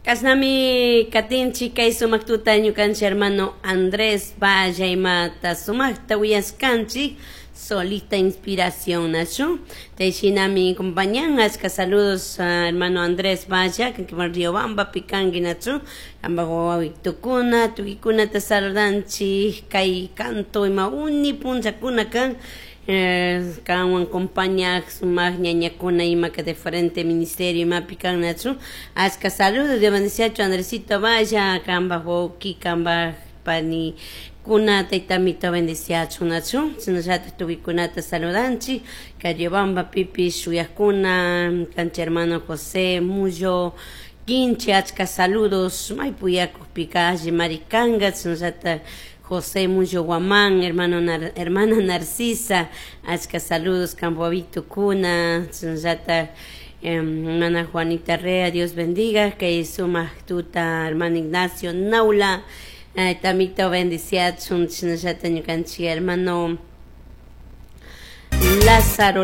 Kasnami katinchik kay sumak tuta ñukanchik hermano Andrés Valla imata sumakta uyashkanchik solita inspiración nachu shinami acompañan achka saludos hermano Andrés Valla kankiman Riobambapi kanki nachu kampak wawitukuna tukuykunata saludanchik kay canto ima uni punllakuna kan kanwan compañak sumak ñañakuna imaka diferente ministerio imapi kan nachu achka saludos Dios bendeciachu Andresito Valla kampak wawki kampak pani kuna taytamito bendeciachu nachu shinallatak tukuykunata saludanchik kay Riobamba pipish shuyakuna kanchik hermano José Mullo Quinche achka saludos may puyakukpika alli mari kanka shinallatak José Mullo Guamán, hermano hermana Narcisa, achka saludos kampak wawitukuna, shinallatak hermana Juanita Rea, Dios bendiga, kay sumak tuta hermano Ignacio Naula, tamito bendiciachun, shinallatak ñukanchik hermano Lázaro.